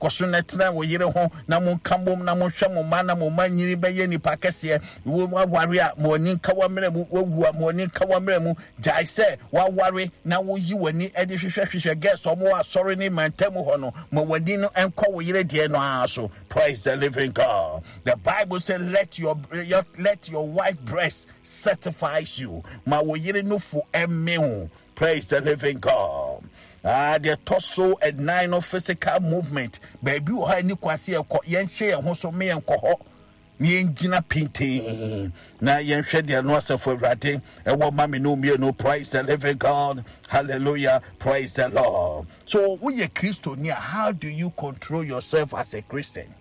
Kɔ so na tena wo yere ho na monka mmom na monhwɛ mo mma na mo mma nyini bɛyɛ nnipa kɛseɛ. Woaware a, ma w'ani nka w'amena mu. Woawu a, ma w'ani nka w'amena mu. Gyae sɛ woaware na woyi w'ani de hwehwɛhwehwɛ girls a wɔwɔ asɔre ne mantam hɔ no. Ma w'ani no nkɔ wo yere deɛ no ara so. Praise the living God. The Bible says, let your, your, let your wife breast certifies you. Ma wo yere nufu ɛme wo. Praise the living God. Ah, deɛ ɛtɔ so ɛnan no physical movement. Baabi wɔ hɔ a ɛni kwan sɛ yɛkɔ, yɛnhyɛ yɛn ho so me yɛnkɔ hɔ. Na yɛngyina pintinn na yɛnhwɛ deɛ no asafo awurade ɛwɔ ma me no mmienu. Praise the living God. Hallelujah. Praise the Lord. So woyɛ Kristoni a, how do you control yourself as a Christian?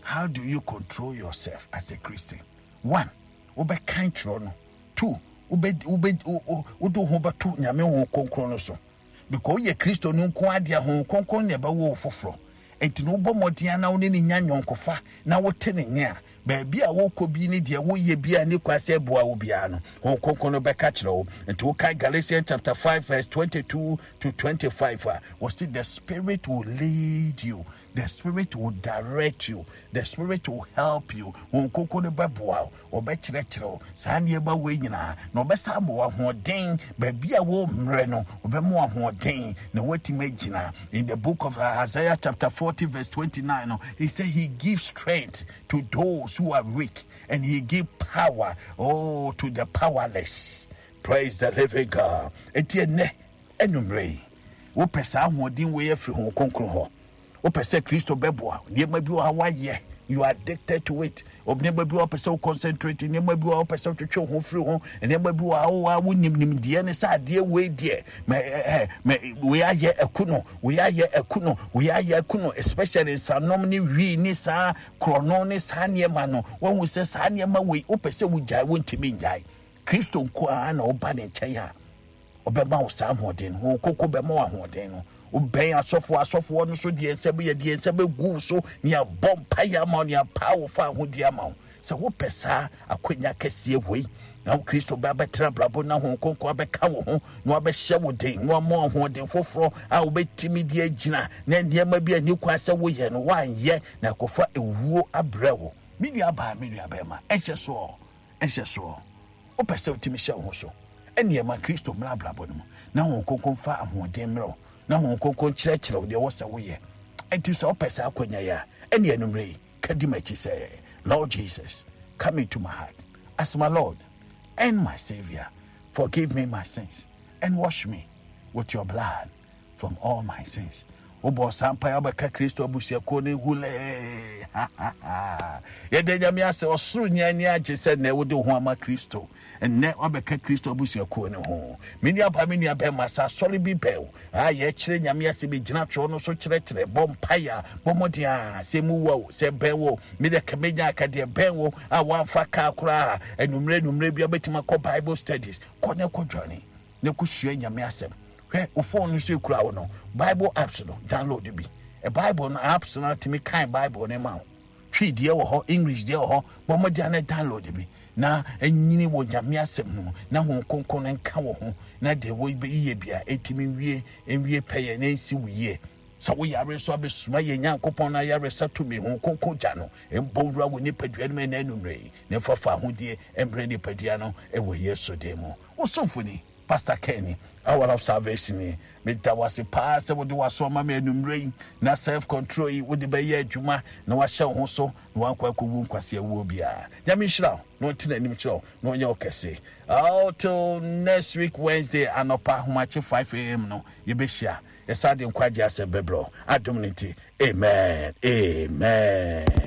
How do you control yourself as a Christian? One, wobɛkan twerɛ no. 2, wobɛ wobɛ wode wo ho bɛto Nyame Honhom Kronkron no so. Because woyɛ Kristoni nko ara deɛ, Honhom Kronkron na ɛbɛwo wo foforɔ. Enti no wobɔ mmɔden ara na wo ne no nya nyɔnkofa na wote ne nne a, baabi a wokɔ bi ne deɛ woyɛ bi a ne kwan sɛ ɛboa wo biara no, Honhom Kronkron no bɛka kyerɛ wo. Nti wokae Galatians chapter 5 verse 22 to 25 a, wɔse the spirit will lead you. The spirit will direct you. The spirit will help you. Honhom Kronkron no bɛboa wo. Ɔbɛkyerɛkyerɛ wo saa nneɛma wei nyinaa, na ɔbɛsan ama wo ahoɔden. Baabi a wɔmmerɛ no, ɔbɛma wo ahoɔden na woatumi agyina. In the book of Isaiah chapter 40 verse 29 no, he said he gives strength to those who are weak and he gives power oh to the powerless. Praise the living God. Enti ɛnnɛ anwummerɛ yi, wopɛ saa ahoɔden wei afiri Honhom Kronkron hɔ. Wopɛ sɛ Kristo bɛboa wo. Nneɛma bi wɔ ha woayɛ, you are addicted to it. Nneɛma bi wɔ hɔ wopɛ sɛ wo concentrate, nneɛma bi wɔ hɔ wopɛ sɛ wotwetwe wo ho firi ho, nneɛma bi wɔ ha wo a wonim nimdeɛ ne sɛ adeɛ wei deɛ mɛ ɛ mɛ wei ayɛ aku no, wei ayɛ aku no, wei ayɛ aku no, especially nsanom ne wii ne saa korɔno ne saa nneɛma no. Woahu sɛ saa nneɛma wei wopɛ sɛ wogyae, wontumi nnyae. Kristo nko ara na woba ne nkyɛn a Ɔbɛma wo saa ahoɔden no. Honhom Kronkron bɛma wo ahoɔden no. Wobɛn asɔfoɔ, asɔfoɔ no so deɛ nsa bi yɛde yɛn nsa bɛgu wo so ne abɔ mpaeɛ ama wo ne apaa wo fa ahodeɛ ama wo. Sɛ wopɛ saa akwanya kɛseɛ wei na wo Kristo bɛ abɛtena abrabɔ na Honhom Kronkron abɛka wo ho na wabɛhyɛ wo den na wama wo ahoɔden foforɔ a wobɛtumi de agyina na nneɛma bi a ɛni kwan sɛ woyɛ no woanyɛ na ɛkɔfa ewuo abrɛ wo. Me nua baa, me nua bɛrima, ɛnhyɛ soɔ, ɛnhyɛ soɔ. Wopɛ sɛ wotumi hyɛ wo ho so? Ɛnneɛ ma Kristo mmra abrabɔ no mu, na Honhom Kronkron mfa ahoɔden mmerɛ wo, na Honhom Kronkron nkyerɛkyerɛ wo deɛ ɛwɔ sɛ woyɛ. Enti sɛ wopɛ saa akwanya yi a, ɛnneɛ anwummerɛ yi, ka di m'akyi sɛ, Lord Jesus, come into my heart as my Lord and my Savior. Forgive me my sins and wash me with your blood. From all my sins. Wobɔ saa mpaeɛ wobɛka Kristo abusuakuo no hulɛɛ. Yɛda Nyame ase ɔsoro nyinaa ani agye sɛ nnɛ wode wo ho ama Kristo. Nnɛ wabɛka Kristo abusuakuo no ho. Me nua ba me nua bɛrima sɛ asɔre bi bɛn wo a yɛkyerɛ Nyame ase bɛgyina twerɛ no so kyerɛkyerɛ bɔ mpaeɛ a bɔ mmɔden a sɛ mu wa o sɛ bɛn wo me deɛ ka mɛnya aka deɛ bɛn wo a woamfa kaa koraa anwummerɛ anwummerɛ bi wobɛtumi akɔ Bible studies kɔ ne kɔ dwane na kosua Nyame asɛm. Hwɛ, wo phone no so ekura wo no, Bible apps no, download bi. E Bible no apps no atumi kan Bible no ma wo. Twi deɛ wɔ hɔ, English deɛ wɔ hɔ, bɔ mmɔden na download bi na nyini wɔ Nyame asɛm no mu na Honhom Kronkron no nka wo ho na deɛ wɔyɛ bia ɛtumi nwie nwie pɛyɛ na ɛnsi wo yie. Sɛ wo yare nso abɛsuma yɛn Nyankopɔn no ayaresa tumi, Honhom Kronkron gya no mbɔ nwura wo nipadua no mu ɛnɛ anwummerɛ yi na ɛmfa fahodie mbrɛ nipadua no wɔ Yesu din mu. Wo somfo ni, Pastor Ken ni, Hour of Salvation ni. Meda wo ase paa sɛ wode w'aso ama me anwummerɛ yi, na self control yi wode bɛyɛ adwuma na wahyɛ wo ho so na wankɔ akɔwu nkwasea wuo biara. Nyame nhyira wo na ɔnte n'anim kyerɛ wo na ɔnyɛ wo kɛse. Oh, till next week Wednesday anɔpa ahomakye 5 am no yɛbɛhyia. Yɛsan de nkwagye asɛm bɛbrɛ wo. Adom no nti, amen, amen.